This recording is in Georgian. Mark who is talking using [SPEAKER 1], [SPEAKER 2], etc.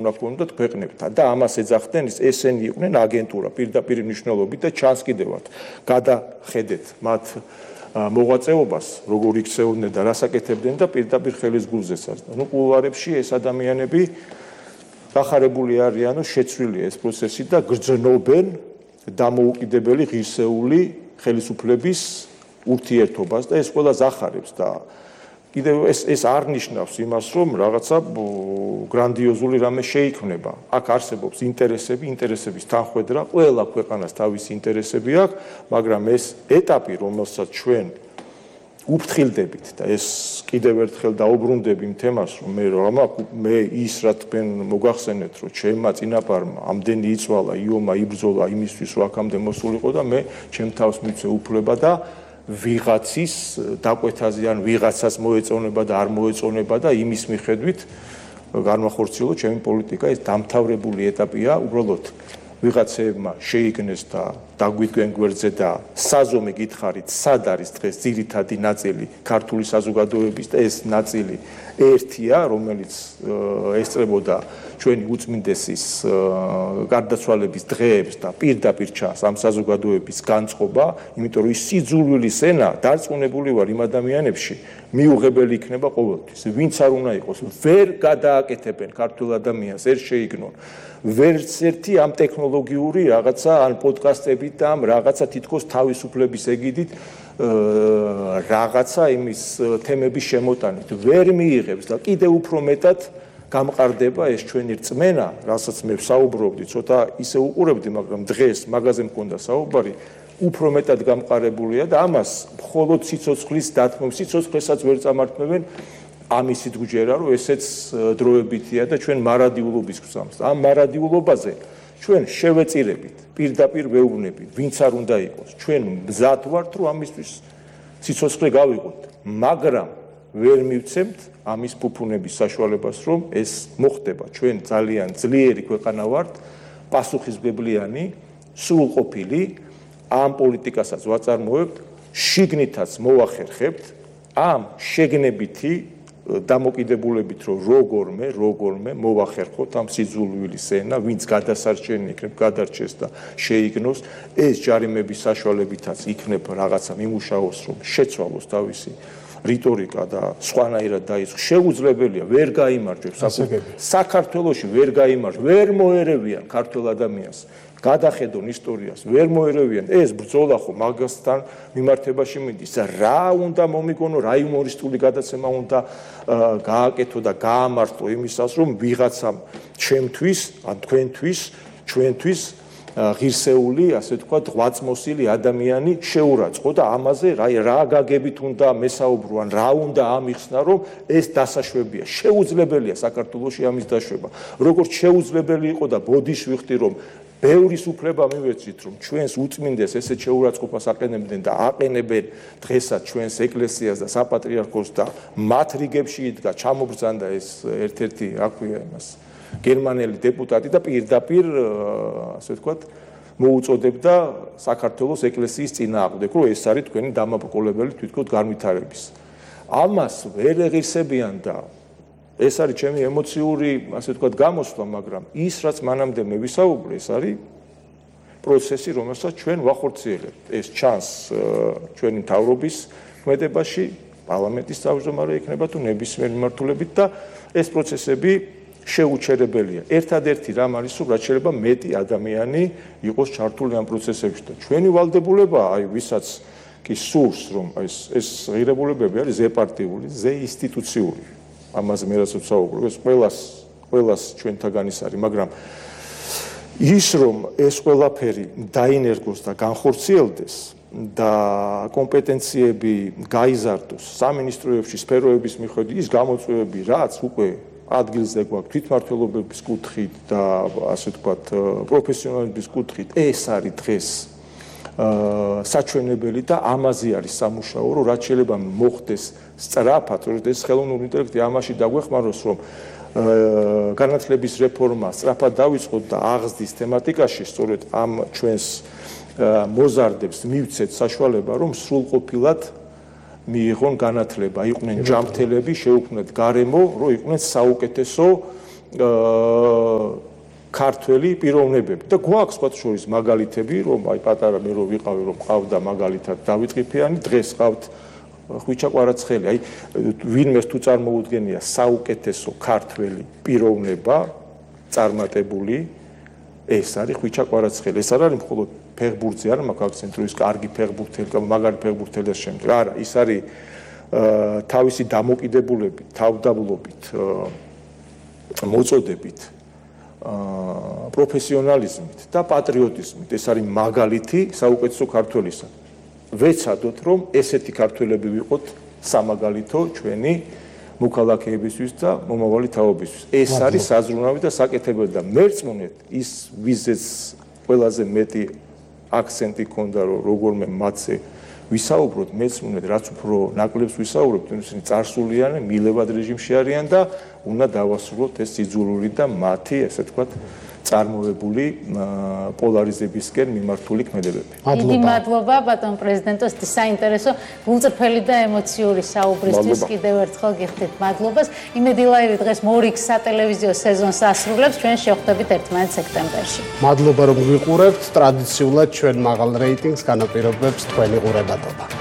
[SPEAKER 1] უნდა გქონდათ ქვეყნებთან და ამას ეძახდნენ ესენი იყვნენ აგენტურა პირდაპირ მნიშვნელობით და ჩანს კიდევაც გადახედეთ მათ მოღვაწეობას როგორ იქცეოდნენ და რას აკეთებდნენ და პირდაპირ ხელის გულზეცაც. ნუ კულუარებში ეს ადამიანები დახარებული არიანო შეცვლილია ეს პროცესი და გრძნობენ დამოუკიდებელი ღირსეული ხელისუფლების ურთიერთობას და ეს ყველას ახარებს და კიდევ ეს არ ნიშნავს იმას რომ რაღაცა გრანდიოზული რამე შეიქმნება. აქ არსებობს ინტერესების თანხვედრა, ყველა ქვეყანას თავისი ინტერესები აქვს, მაგრამ ეს ეტაპი, რომელსაც ჩვენ უფრთხილდებით და ეს კიდევ ერთხელ დაუბრუნდები იმ თემას, რომ მე ის რა თქვენ მოგახსენეთ, რომ ჩემმა წინაპარმა ამდენი იწვალა, იომა იბრძოლა იმისთვის, რომ აქამდე მოსულიყო და მე ჩემ თავს მივცე უფლება და ვიღაცის დაკვეთაზე ან ვიღაცას მოეწონება და არ მოეწონება და იმის მიხედვით განვახორციელო ჩემი პოლიტიკა. ეს დამთავრებული ეტაპია, უბრალოდ ვიღაცებმა შეიგნეს და დაგვიდგენ გვერდზე და საზომი გითხარით, სად არის დღეს ძირითადი ნაწილი ქართული საზოგადოების და ეს ნაწილი ერთია, რომელიც ესწრებოდა ჩვენი უწმინდესის გარდაცვალების დღეებს და პირდაპირ ჩანს ამ საზოგადოების განწყობა, იმიტომ რომ ის სიძულვილის ენა დარწმუნებული ვარ იმ ადამიანებში მიუღებელი იქნება ყოველთვის. ვინც არ უნდა იყოს, ვერ გადააკეთებენ ქართულ ადამიანს, ვერ შეიგნონ. ვერც ერთი ამ ტექნოლოგიური რაღაცა ან პოდკასტებით და ამ რაღაცა თითქოს თავისუფლების ეგიდით რაღაცა იმის თემების შემოტანით ვერ მიიღებს და კიდევ უფრო მეტად გამყარდება ეს ჩვენი რწმენა, რასაც მე ვსაუბრობდი, ცოტა ისე უყურებდი, მაგრამ დღეს მაგაზე მქონდა საუბარი, უფრო მეტად გამყარებულია და ამას მხოლოდ სიცოცხლის დათმობ, სიცოცხლესაც ვერ წამართმევენ ამისით გვჯერა, რომ ესეც დროებითია და ჩვენ მარადიულობის გვსამს. ამ მარადიულობაზე ჩვენ შევეწირებით, პირდაპირ ვეუბნებით, ვინც არ უნდა იყოს. ჩვენ მზად ვართ, რომ ამისთვის სიცოცხლე გავიღოთ, მაგრამ ვერ მივცემთ ამის ფუფუნების საშუალებას, რომ ეს მოხდება. ჩვენ ძალიან ძლიერი ქვეყანა ვართ, პასუხისმგებლიანი, სრულყოფილი, ამ პოლიტიკასაც ვაწარმოებთ, შიგნითაც მოვახერხებთ, ამ შეგნებითი დამოკიდებულებით, რომ როგორმე მოვახერხოთ ამ სიძულვილის ენა, ვინც გადასარჩენი იქნებ, გადარჩეს და შეიგნოს, ეს ჯარიმების საშუალებითაც იქნებ რაღაცა მიმუშაოს, რომ შეცვალოს თავისი რიტორიკა და სხვანაირად დაიწყოს. შეუძლებელია, ვერ გაიმარჯვებს საქართველოში, ვერ გაიმარჯვებს, ვერ მოერევიან ქართულ ადამიანს. გადახედონ ისტორიას, ვერ მოერევიან. ეს ბრძოლა ხო მაგასთან მიმართებაში მიდის. რა უნდა მომიგონო, რა იუმორისტული გადაცემა უნდა გააკეთო და გაამართლო იმისას, რომ ვიღაცამ ჩემთვის, ან თქვენთვის, ჩვენთვის ღირსეული, ასე ვთქვათ, ღვაწმოსილი ადამიანი შეურაცხყო და ამაზე რა გაგებით უნდა მესაუბრო, ან რა უნდა ამიხსნა, რომ ეს დასაშვებია. შეუძლებელია საქართველოში ამის დაშვება. როგორც შეუძლებელი იყო და ბოდიშვიხდი, რომ ბევრის უფლება მივეცით, რომ ჩვენს უწმინდეს ესეთ შეურაცხყოფას აყენებდნენ და აყენებენ დღესაც ჩვენს ეკლესიას და საპატრიარქოს და მათ რიგებში იდგა, ჩამობრძანდა ეს ერთ-ერთი, რა ქვია იმას, გერმანელი დეპუტატი და პირდაპირ, ასე ვთქვათ, მოუწოდებდა საქართველოს ეკლესიის წინააღმდეგ, რომ ეს არის თქვენი დამაბრკოლებელი თვითონ განვითარების. ამას ვერ ეღირსებიან და ეს არის ჩემი ემოციური, ასე ვთქვათ, გამოსვლა, მაგრამ ის, რაც მანამდე მე ვისაუბრე, ეს არის პროცესი, რომელსაც ჩვენ ვახორციელებთ. ეს ჩანს ჩვენი მთავრობის ქმედებაში, პარლამენტის თავმჯდომარე იქნება თუ ნებისმიერ მიმართულებით და ეს პროცესები შეუჩერებელია. ერთადერთი რამ არის, რომ რაც შეიძლება მეტი ადამიანი იყოს ჩართული ამ პროცესებში და ჩვენი ვალდებულება, აი ვისაც კი სურს, რომ ეს ღირებულებები არის ზეპარტიული, ზეინსტიტუციური. ამაზე მე რასაც ვსაუბრობ, ეს ყველას ჩვენთაგან ის არის, მაგრამ ის რომ ეს ყველაფერი დაინერგოს და განხორციელდეს და კომპეტენციები გაიზარდოს სამინისტროებში, სფეროების მიხედვით, ის გამოწვევები, რაც უკვე ადგილზე გვაქვს თვითმმართველობების კუთხით და ასე ვთქვათ, პროფესიონალების კუთხით, ეს არის დღეს საჩვენებელი და ამაზე არის სამუშაო, რომ რაც შეიძლება მოხდეს სწრაფად, რომ ეს ხელოვნური ინტელექტი ამაში დაგვეხმაროს, რომ განათლების რეფორმა სწრაფად დავიწყოთ და აღზრდის თემატიკაში, სწორედ ამ ჩვენს მოზარდებს მივცეთ საშუალება, რომ სრულყოფილად მიიღონ განათლება, იყვნენ ჯანმრთელები, შეუქმნათ გარემო, რომ იყვნენ საუკეთესო ქართველი პიროვნებები და გვაქვს სხვა შორის მაგალითები, რომ აი პატარა მე რო ვიყავი, რომ ყავდა მაგალითად დავით ყიფიანი, დღეს ყავთ ხვიჩა კვარაცხელი. აი ვინმეს თუ წარმოუდგენია საუკეთესო ქართველი პიროვნება წარმატებული, ეს არის ხვიჩა კვარაცხელი. ეს არ არის მხოლოდ ფეხბურთზე, არა მაქვს აქცენტი, რომ ის კარგი ფეხბურთელი, მაგარი ფეხბურთელი და შემდეგ. არა, ის არის თავისი დამოკიდებულებით, თავდაბლობით, მოწოდებით, პროფესიონალიზმით და პატრიოტიზმით. ეს არის მაგალითი საუკეთესო ქართველისა. ვეცადოთ, რომ ესეთი ქართველები ვიყოთ სამაგალითო ჩვენი მოქალაქეებისთვის და მომავალი თაობისთვის. ეს არის საზრუნავი და საკეთებელი და მერწმუნეთ ის ვიზეც ყველაზე მეტი აქცენტი ქონდა, რომ როგორმე მათზე ვისაუბროთ, მეცმუნეთ, რაც უფრო ნაკლებს ვისაუბრებთ, ისინი წარსულიანი, მილევად რეჟიმში არიან და უნდა დავასრულოთ ეს სიძულვილი და მათი, ესე ვთქვათ, წარმოებული პოლარიზებისკენ მიმართული ქმედებები.
[SPEAKER 2] დიდი მადლობა ბატონ პრეზიდენტოს საინტერესო, გულწრფელი და ემოციური საუბრისთვის კიდევ ერთხელ გიხდით მადლობას. იმედი ლაივი დღეს მორიგ სატელევიზიო სეზონს ასრულებს, ჩვენ შევხვდებით ერთმანეთს სექტემბერში.
[SPEAKER 3] მადლობა რომ გვიყურებთ, ტრადიციულად ჩვენ მაღალ რეიტინგს განაპირობებს თქვენი ყურადღება.